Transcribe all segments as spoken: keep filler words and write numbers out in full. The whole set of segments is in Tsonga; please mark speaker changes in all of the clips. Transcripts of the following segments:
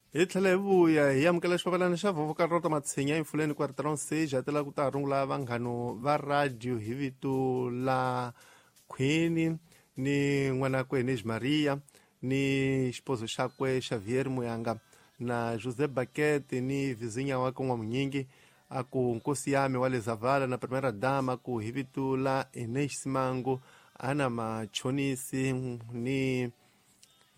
Speaker 1: Hi tlhela hi vuya hi amukela xipapalana xa Vhovho Karota Matshinya emfuleni quarteron stage a tela ku ta rungula vanghano va radio hi vito la Queen ni n'wanakwe Inês Maria ni xipozo xakwe Xavier Muyanga na José Baquete ni vizinha wakwe N'wamunyingi a ku nkosi yami wa le Zavala na Primeira Dama ku hi vito la Inês Simango ana Machonisi ni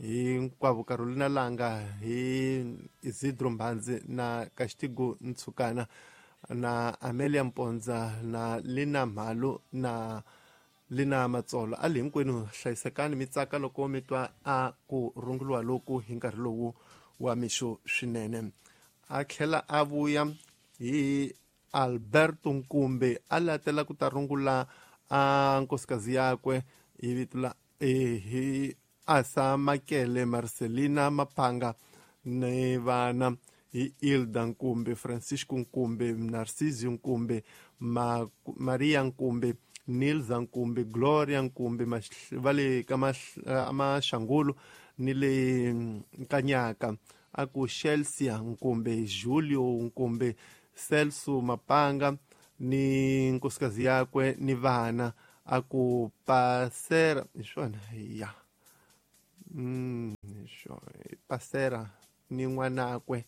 Speaker 1: hinkwavo Carolina Langa hi Isidro Mbanzi na Castigo Ntsukana na Amelia Mponza na Lina Mhalu na Lina Matsolo. A li hinkwenu hlayisekani mi tsaka loko mi twa a ku runguriwa loku hi nkarhi lowu wa mixo swinene. A tlhela a vuya hi Alberto Nkumbe a latela ku ta rungula a nkosikazi yakwe hi vito la hi Asa Makele Marcelina Mapanga ni vana hi Ilda Nkumbe, Francisco Nkumbe, Narcisio Nkumbe, Ma, Maria Nkumbe, Nilza Nkumbe, Gloria Nkumbe, va le ka Maxangulu ni le Nkanyaka, a ku Chelsea Nkumbe, Julio Nkumbe, Celso Mapanga ni nkosikazi yakwe ni vana, a ku Pasera hi swona ya Mm, Pasera ni n'wanakwe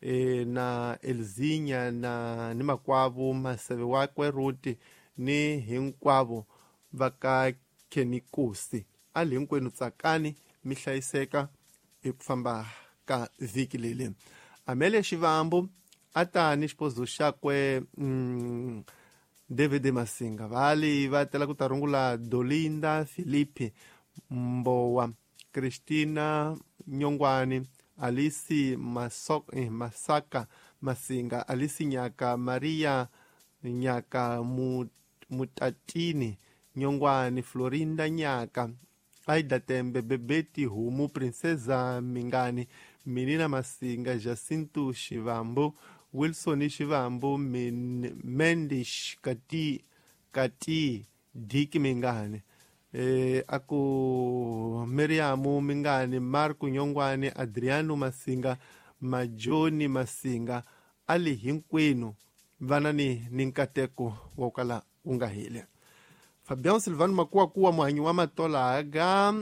Speaker 1: e, na Elzinya na ni makwavo Maseve wakwe Ruti ni hinkwavo va ka Kenikusi. A li hinkwenu tsakani mi hlayiseka eku famba ka vhiki leli. Amelia Xivambu a ta ni xipozo xakwe mm, David Masinga vali va tela ku ta rungula Dolinda Filipe Mbowa, Cristina Nyongwani, Alice Masok, eh, Masaka Masinga, Alice Nyaka, Maria Nyaka Mutatini Nyongwani, Florinda Nyaka, Aida Tembe, Bebeti Humu, Princesa Mingani, Menina Masinga, Jacinto Xivambu, Wilson Xivambu, Mendish Kati Kati Diki Mingani, eh, aku Miriamu Mingani, Marco Nyongwani, Adriano Masinga, Majoni Masinga. Ali hinkwenu vana ni ni nkateko wa kala wu nga heli. Fabian Silvano Makuwakuwa muhanyi wa Matolaga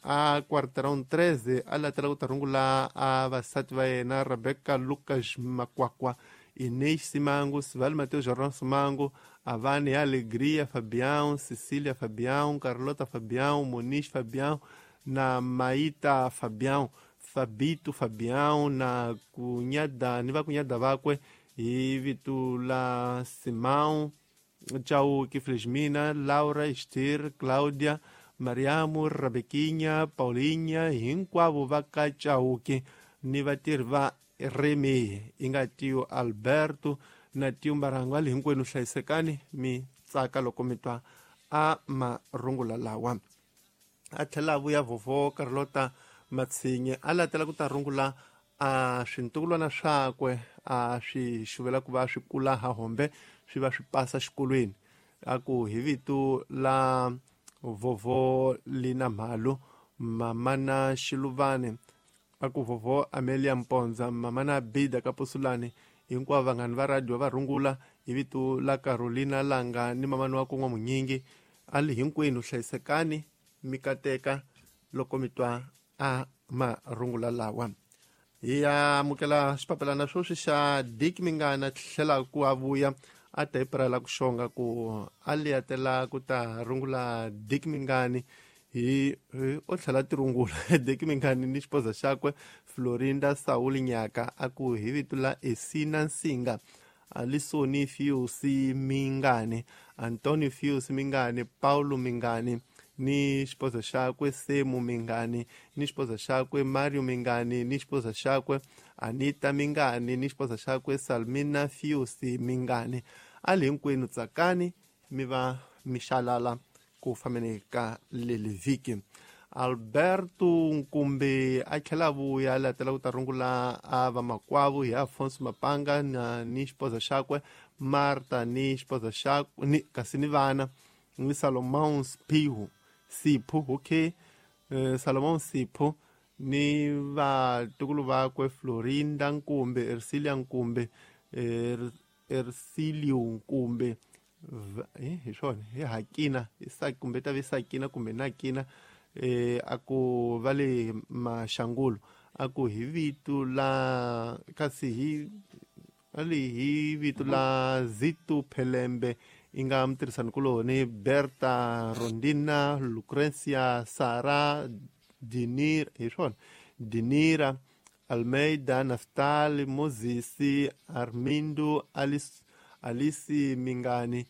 Speaker 1: a quarteron treze a latela ku ta rungula a vasati va yena Rebecca Lucas Makwakwa, Inês Simango, Sival Mateus Jordan Simango, Avani Alegria Fabião, Cecília Fabião, Carlota Fabião, Moniz Fabião, na Maíta Fabião, Fabito Fabião, na cunhada, ni va cunhada vakwe hi vito la Simão, Chauki Fresmina, Laura, Esther, Cláudia, Mariamu, Rebequinha, Paulinha, hinkwavo va ka Chauki ni vatirhi va Remi, inga tio Alberto na tio Mbarango. Ali hinkwenu hlayisekani mi tsaka loko mi twa a marungula lawa. A tlhela a vuya Vhovho Carlota Matshinye a latela ku ta rungula a swintukulwana swakwe a swi xuvela ku va swi kula ha hombe swi va swi pasa xikolweni, a ku hi vito la Vhovho Lina Mhalu, Mamana Xiluvane, a ku Vhovho Amelia Mponza, Mamana Bida Kapusulani, hinkwavo vanghani va radio va rungula hi vito la Carolina Langa ni mamani wa kun'wa Munyingi. A li hinkwenu hlayisekani mi kateka loko mi twa a marungula lawa. Hi amukela xipapalana sweswi xa Dick Mingana tlhela ku a vuya a ta hi pirala ku xonga ku a liyatela ku ta rungula Dick Mingani hi o tlhela ti rungula Dick Mingani ni xipoza xakwe Florinda Saul Nyaka, a ku hi vito la Esina Nsinga, Alisoni Fiusi Mingani, Antonio Fiusi Mingani, Paulo Mingani ni xipoza xakwe Semu Mingani ni xipoza xakwe Mario Mingani ni xipoza xakwe Anita Mingani ni xipoza xakwe Salmina Fiusi Mingani. A li hinkwenu tsakani mi va mi xalala ku fambeni ka leli vhiki. Alberto Nkumbe a tlhela vuya latela ku ta rungula a vamakwavo hi Afonso Mapanga na ni xipoza xakwe Marta ni xipoza xakwe ni kasi ni vana ni Salomão Spihu Sipho, okay, eh, Salomão Sipho ni vatukulu vakwe Florinda Nkumbe, Ersilia Nkumbe, er, Ersilio Nkumbe, hi swona hi Hakina kumbe ta ve Sakina kumbe Nakina, eh a ku va le Maxangulo, a ku hi vito la kasi hi ali hi vito la Zitu Phelembe i nga mutirhisanikuloni Berta Rondina, Lucrecia, Sara, Dinira, hi swona Dinira, Almeida, Naftali, Moses, Armindo, Alice, Alice Mingani,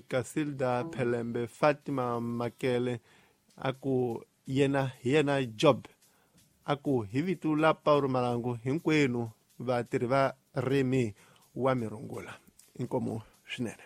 Speaker 1: Casilda Phelembe, Fatima Makele, a ku yena hi yena Job, a ku hi vito la Paulo Malangu hinkwenu vatirhi va rimi wa mirungula. Inkomu swinene.